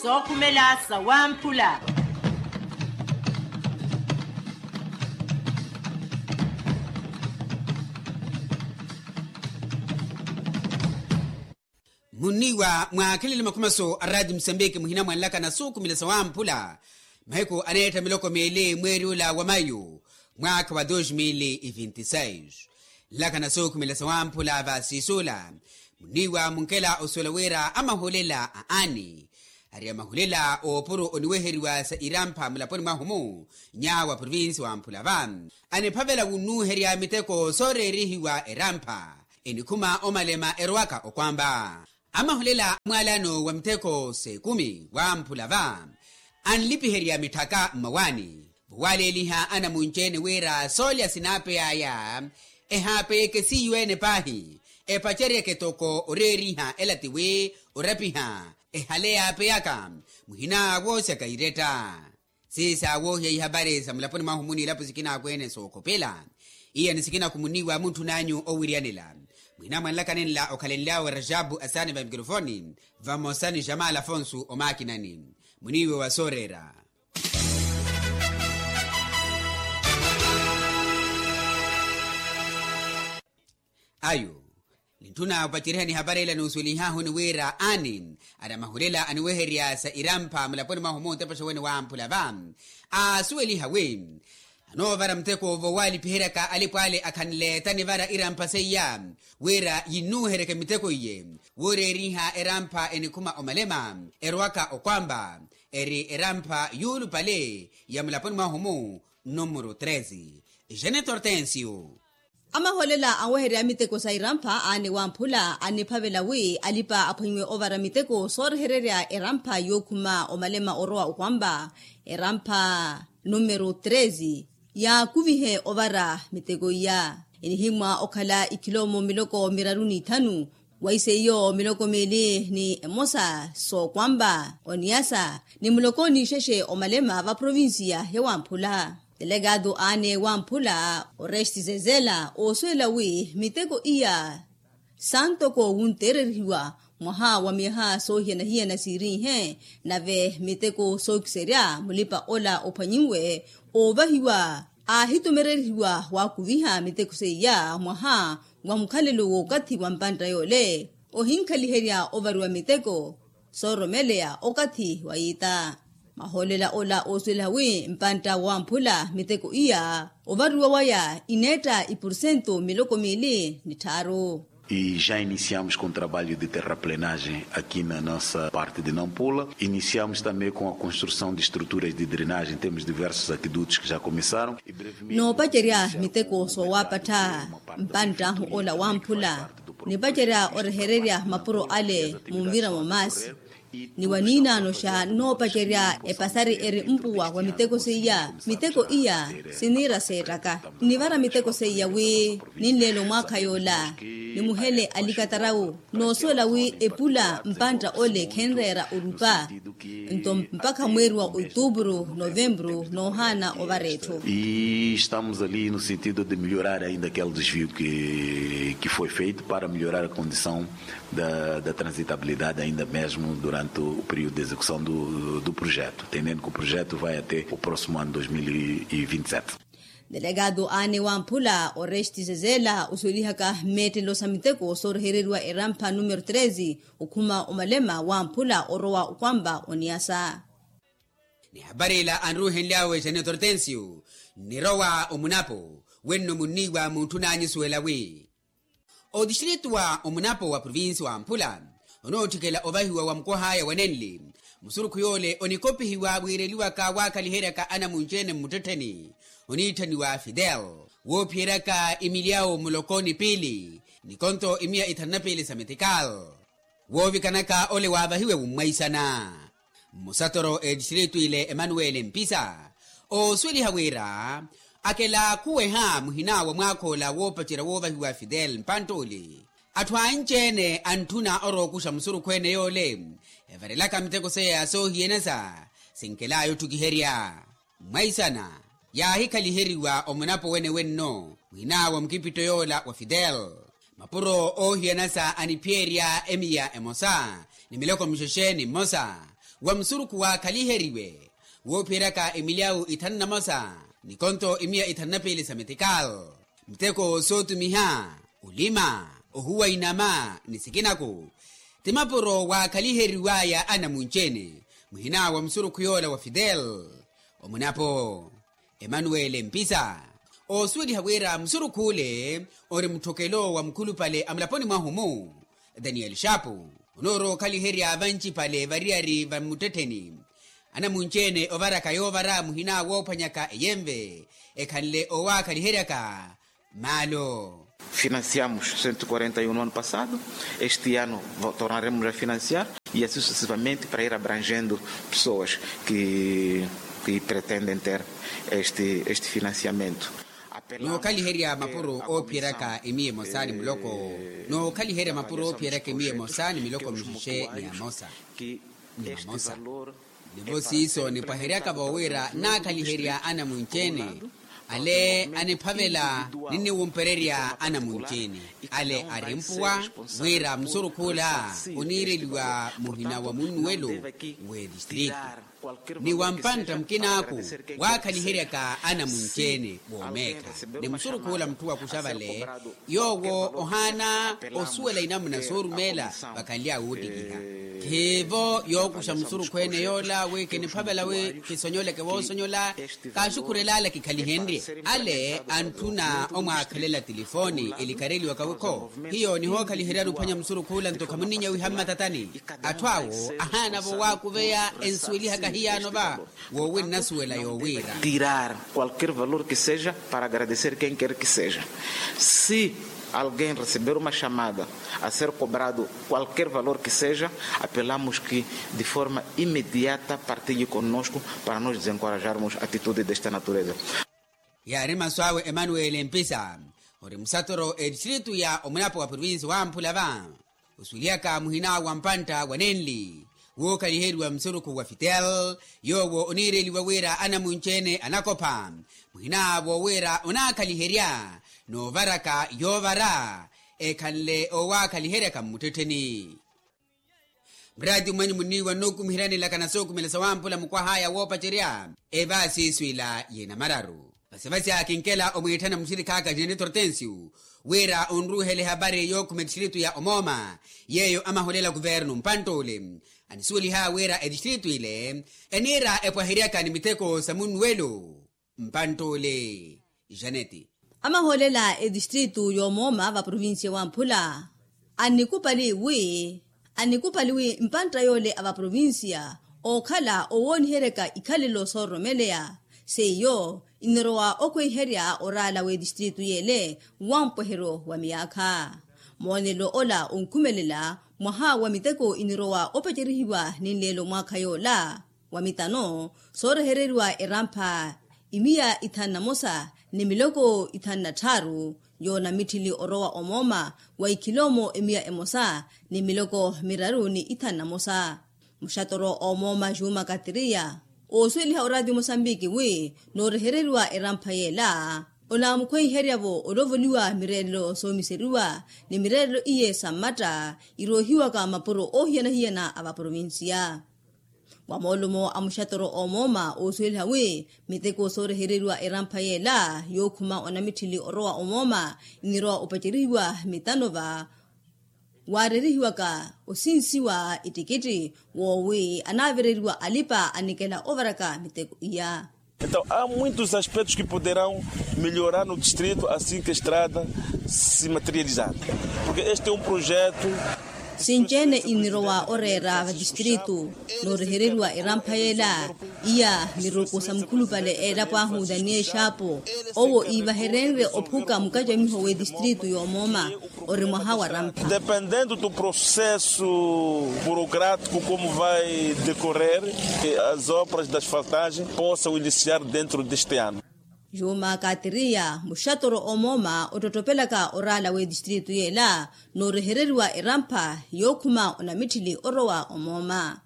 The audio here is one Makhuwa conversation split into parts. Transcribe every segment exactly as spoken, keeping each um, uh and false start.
Sookhumela sawamphula. Munniiwa mwaakhelele makhumaso a raati musambiki muhina mwanlaka na sookhumela sawamphula, mahiku aneetta miloko meeli mweeri ula wa mayu, mwaakha wa dos mil e vinte e seis. Nlaka na sookhumela sawamphula va siisuula, munniiwa munkela osuwela wira amahulela a ani ari amahulela oopuro oniweheriwa sa irampha mulaponi mwahu-mu, nyaawa provinsi wamphula va aniphavela wunnuherya miteko sooreerihiwa erampha enikhuma omalema erowaka okwamba. Amahulela mwaalano wa miteko s'ekumi wamphula va anlipiherya mitthaka mmawaani, vowaleeliha anamunci-ene wira soolya sinaapey'aya ehaapeyeke siiyo-ene paahi, epaceryeke toko oreeriha ela tiwi orapiha ehale yaapeyaka muhina woosyaka iretta. Siisa woohiya ihapari sa mulaponi mwahu-mu n'ilapo sikina akweene sookhopela. Iya ni sikina khumunn'iwa muntthun'anyu owiryanela. Muhina mwanlaka nenla okhalenly'awe rajabu asaani va mikirofoni, vamosa ni jamal afonsu omaakinani. Muniiwe wa sooreera. Ayo nintthuna opacerihani hapari ila n'usuwelih'ahu ni wira ani ari amahulela aniweherya sa irampha mulaponi mwahu-mu ntepexe wene wamphula va aasuweliha wi anoovara muteko vowalipiheryaka alipo ale akhanleeta nivara irampha seiya wira yinnuheryeke miteko iye, wooreeriha erampha enikhuma omalema erowaka okwamba eri erampha yuulupale ya mulaponi mwahu-mu numero treze. Janet hortensio. Amaholela anweherya miteko sa irampha aane wamphula aniphavela wi alipa aphwanyiwe ovara miteko soorehererya erampha yookhuma omalema orowa okwamba erampha numero treze yaakuvihe ovara miteko iya. Enihimwa okhala ikhilomo miloko miraru n'ithanu, waiseiyo miloko miili ni emosa sookwamba oniyasa ni muloko n'ixexe omalema va provincia ya wamphula. Delegado aane wamphula oresti zezela oosuwela wi miteko iya santoko wunteererihiwa mwaha wa myaha soohiyana-hiyana siiriihe nave miteko sookiserya mulipa ola ophwanyinwe oovahiwa aahitumererihiwa waakuviha miteko seiya mwaha wa mukhalelo w'okathi wa mpantta yoole ohinkhaliherya ovariwa miteko sooromeleya okathi wa yiita. Mahoolela ola oosuweliha wi mpantta wamphula miteko iya ovariwa waya ineetta ipursentu miloko miili ni tthaaru. E já iniciamos com trabalho de terraplenagem aqui na nossa parte de nampula iniciamos também com a construção de estruturas de drenagem temos diversos aquedutos que já começaram. Noopacerya miteko soowapattha mpanttahu ola wamphula nipacerya orehererya mapuro ale munvira mwa maasi. Ni waniinaano xa noopacerya epasari eri mpuwa wa miteko seiya miteko iya siniira seettaka nnivara miteko seiya wi ninleela omwaakha yoola nimuhele alikatarawu noosuwela wi epula mpantta ole khenreera orupa. Nto mpakha mweeri wa otuburu novemburu noohaana ovara etthu. E estamos ali no sentido de melhorar ainda aquele desvio que foi feito para melhorar a condição da transitabilidade ainda mesmo durante o período de execução do projeto tendendo que o projeto vai até o próximo ano dois mil e vinte e sete. Delegado aane wamphula oresti zezela osuwelihaka mmeettelo sa miteko soorehereriwa erampha numero treze okhuma omalema wamphula orowa okwamba oniyasa. Ni hapari ila anruuhenly'awe janet hortensio nnirowa omunapo wenno munniiwa muntthun'anyu osuwela wi otistrito wa omunapo wa provinsi wamphula onootthikela ovahiwa wa mukoh'aya wa nenli musurukhu yoole onikopihiwa wiireliwaka waakhaliheryaka anamunci-ene mmuttettheni oniitthaniwa fidel woophiyeryaka imilyawu muloko ni piili ni konto imiya ithanu na piili sa metikal. Woovikanaka ole waavahiwe wummwaisana mmusatoro etistrito ile emanuweli mpisa oosuweliha wira akela khuweha muhina wa mwaakha ola woopacerya woovahiwa fidel mpantt'ole atthu anci-ene antthuna orookuxa musurukhu ene yoole evarelaka miteko seiya soohiyanasa sinkel'aya otthukiherya. Mmwaisana yaahikhaliheryiwa omunapo wene wenno muhina wa mukipitto yoola wa fidel mapuro oohiyana sa aniphiyerya emiya emosa ni miloko mixexe ni mmosa wa musurukhu waakhaliheriwe woophiyeryaka emilyawu ithanu na mosa, ni konto imiya ithanu na piili sa metikal, miteko sootumiha, olima, ohuwa inama ni sikinaku, ti mapuro waakhaliheriwaya anamunci-ene muhina wa musurukhu yoola wa fidel. Omunapo emanuwele mpisa oosuweliha wira musurukhu ole ori mutthokelo wa mukhulupale a mulaponi mwahu-mu, daniel shapu, onoorowa okhaliherya vancipale variyari va mmuttettheni anamunci-ene ovaraka yoovara muhina woophwanyaka eyenve ekhanle owaakhaliheryaka maalo. Financiamos cento e quarenta e um no ano passado, este ano tornaremos a financiar e assim sucessivamente para ir abrangendo pessoas que pretendem ter este financiamento. Nookhaliherya mapuro oophiyeryaka emiya emosa ni muloko. Nookhaliherya mapuro oophiyeryaka emiya emosa ni miloko mixixe ni amosa ni mamosa. Nivo siiso nipwaheryaka-vo wira naakhaliherya anamunci-ene ale aniphavela ni niwumpererya anamunci-ene ale arimpuwa wira musurukhu ola oniireliwa muhina wa munnuwelo w'edistritu ni wa mpantta mukin'aku waakhaliheryaka anamunci-ene woomeekha. Ni musurukhu ola mutthu wakuxa vale yoowo ohaana osuwela inamuna soorumeela vakhanly'awe woottikiha. Khiivo yookuxa musurukhu ene yoola wi kiniphavela wi kisonyoleke woosonyola kaaxukhurel'ala kikhalihenrye. Ale antthuna omwaakhelela tilifooni elikareliwaka wikho hiyo nihookhaliheryani ophwanya musurukhu ola nto khamunninya wiha mmatatani. Atthu awo ahaana-vo waakuveya ensuwelihaka hiyaano va woowi nnasuwela yoowiira tirar qualquer valor que seja para agradecer quem quer que seja. Se alguém receber uma chamada a ser cobrado qualquer valor que seja, apelamos que de forma imediata partilhe conosco para nos desencorajarmos atitude desta natureza. Yaari masu awe emanuwele mpisa ori musatoro etistritu ya omunapo wa provinsi wamphula va osuwelihaka muhina wa mpantta wa nenli wookaliheriwa musurukhu wa fitel yoowo oniireliwa wira anamunci-ene anakopha muhina woowiira onaakaliherya noovaraka yoovara ekhanle owaakaliheryaka mmuttettheni. Muraati mwanyu munniiwa nnookumiheryani laka na sookumela sawamphula mukwah'aya woopacerya evaasi iswiila y'enamararu. Vasivasi akinkela omwiitthana muxirikhaaka jeneto hortensio wira onruuhele ehapari yookhuma etistritu ya omooma yeeyo amaholela kuvernu mpantt'ule anisuweliha wira etistritu ile eniira epwaheryaka ni miteko sa munnuwelo. Mpantt'ule janeti. Amaholela etistritu y'omooma va provinsiya wamphula annikupali wi annikupali wi mpantta yoole a va provinsiya ookhala owooniheryaka ikhalelo soororomeleya seiyo inirowa okhweiherya oraala w'etistritu yeele wampweheryo wa miyaakha. Moonelo ola onkhumelela mwaha wa miteko inirowa opacerihiwa ninleelo mwaakha yoola wa mitano soorehereriwa erampha imiya ithanu na mosa ni miloko ithanu na tthaaru yoonamitthili orowa omooma wa ikhiloomo imiya emosa ni miloko miraru ni ithanu na mosa. Muxatoro omooma juma katiriya oosuweliha oraati mosambiki wi noorehereriwa erampha yeela onaamukhweiherya-vo olovoliwa mireerelo soomiseriwa ni mireerelo iye sa mmatta iroohiwaka mapuro oohiyana-hiyana a va provinsiya. Wa moolumo a muxatoro omooma oosuweliha wi miteko soorehereriwa erampha yeela yookhuma onamitthili orowa omooma inirowa opacerihiwa mitano va waareerihiwaka osinsiwa ittikitthi woowi anaavereriwa alipa anikela ovaraka miteko iya. Entaw a muitos aspectos que poderão melhorar no distrito assim que a estrada se materializar, porque este é um projeto. Sinci-ene inirowa oreera vatistritu noorehereriwa erampha yeela iya miruku sa mukhulupale eelapo ahu daniel xaapo owo iivaherenrye ophuka mukacamiho w'etistritu y'omooma ori mwaha wa rampha. Dependendo do processo burocrático como vai decorrer, as obras da asfaltagem possam iniciar dentro deste ano. Juma katiriya muxatoro omooma ottotopelaka oraala w'etistritu yeela noorehereriwa erampha yookhuma onamitthili orowa omooma.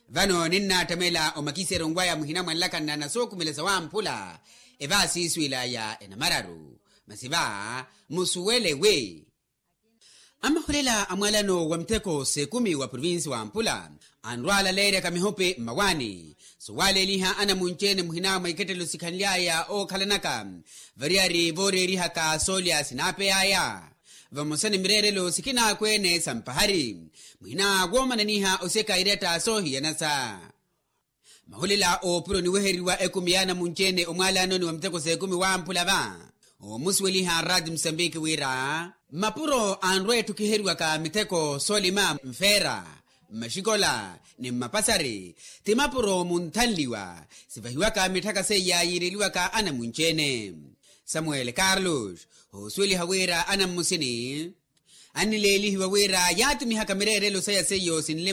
Vano ninnattamela omakiseryoni waya muhina mwa nlakana na sookhumela sawamphula evaasi iswiila ya enamararu masi va musuwele wi Amahulela a mwalano wa mitheko s'ekumi wa provinsi wa mpula anrwaalaleeryaka mihopi mmawaani, sowaleeliha anamunci-ene muhina mwa ikettelo sikhanly'aya ookhalanaka variyari vooreerihaka soolya sinaapey'aya. Vamosa ni mireerelo sikinaakweene sa mpahari muhina woomananiha osyeka iretta soohiyanasa. Mahulela oopuro niweheriwa ekumi y'anamunci-ene omwalanoni wa miteko s'ekumi wamphula va omusuweliha rati musambiki wira mapuro anrwa ettukiheriwaka miteko soolima mfeera mmaxikola ni mmapasari ti mapuro munthanliwa sivahiwaka mitthaka seiya yiireliwaka anamunci-ene. Samuel carlos osuweliha wira anammusini annileelihiwa wira yaatumihaka mireerelo saya seiyo sinle